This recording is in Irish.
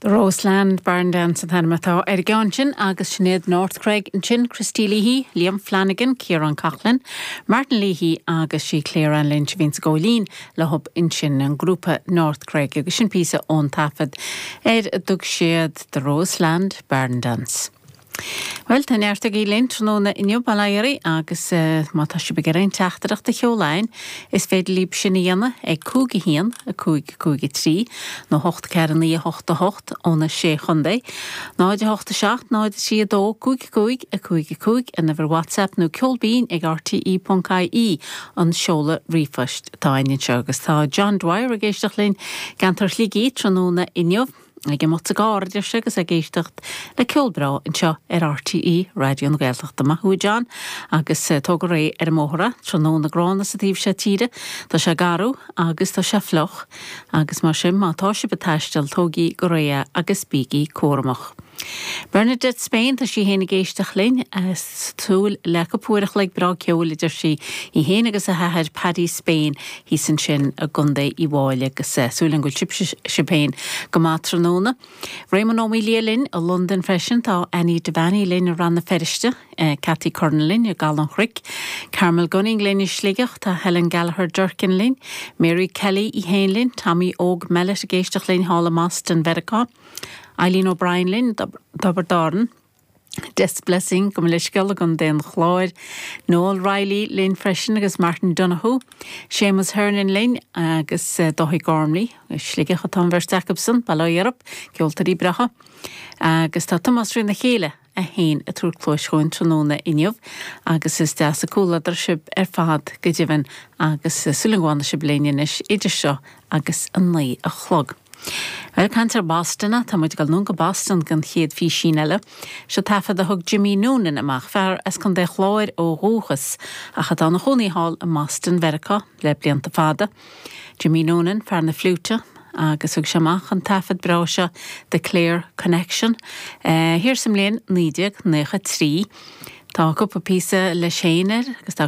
The Roseland Barn Dance an t-ainm atá ar an gceann sin agus Sinéad North Cregg ansin, Christy Leahy, Liam Flanagan, Ciarán Coughlan, Martin Leahy agus sí Claire Ann Lynch a bhíonn sa gcóilín leo ansin, an grúpa North Cregg agus sin píosa ón taifead ar a dtug siad The Roseland Barn Dance. Bhuel, tá neart agaibh linn tráthnóna inniu, bail ó Dhia oraibh, agus má tá sibh ag iarraidh aon teachtaireacht a sheoladh chugainn, is féidir libh sin a dhéanamh ag 5 1 5 5 3 nó 8 4 9 8 8 ó na Sé Chontae, 0 8 7 0 3 2 5 5 5 5 an uimhir WhatsApp nó ceolbinn ag rte.ie an seoladh ríomhphoist atá againn anseo. Agus tá John Dwyer ag éisteacht linn i gceantar Shligigh tráthnóna inniu. Ag imeacht sa gcarr, a deir sé, agus ag éisteacht le ceol breá anseo ar RTÉ Raidió na Gaeltachta. Maith thú a John, agus tóg go réidh ar an mbóthar é. Tráthnóna gránna sa taobh seo tíre. Tá sé garbh agus tá sé fliuch agus mar sin má tá sibh ag taisteal tógaigí go réidh é agus bígí cúramach. Bernadette Spain, tá sí féin ag éisteacht linn, ag súil le cúpla uair a chloig breá ceoil, a deir sí, í féin agus a hathair Paddy Spain thíos ansin i gContae Uíbh Fháilí agus súil agam go bhfuil sibh féin go maith tráthnóna. Réamonn Ó Maolaodha linn i Londain freisin, tá Annie Devaney linn i Rann na Feirste, Cathy Curran linn i gCaladh an Chnoic, Carmel Gunning linn i Sligeach, tá Helen Gallagher Durkin linn, Mary Kelly í féin linn, Tommy Óg Mellett ag éisteacht linn thall i mBoston Mheiriceá. Eileen O'Brien linn, Tiobraid Árann, Des Blessing, gabh mo leithscéal, i gContae an Chláir, Noel Reilly linn freisin agus Martin Donoghue, Séamus Hernon linn agus Dáithí Gormley, i Sligeach atá an bheirt acubsan, bail ó Dhia orthu, ceoltóirí breátha. Agus tá Tomás Trína Chéile é féin ag tabhairt cluais chugainn tráthnóna inniu agus is deas an comhluadar sibh ar fad go deimhin agus súil agam go bhfanfaidh sibh linn anois idir seo agus a 9 a chlog. Bhuel, ag caint ar Boston, tá muid ag dul anonn go Boston don chéad phísín eile. Seo taifead a thug Jimmy Noonan amach, fear as Contae Chláir ó dhúchas ach atá ina chónaí thall i mBoston Mheiriceá le blianta fada. Jimmy Noonan, fear na fliúite, agus thug sé amach an taifead breá seo The Clare Connection thiar sa mbliain 1993. Tá cúpla píosa leis féin air agus tá.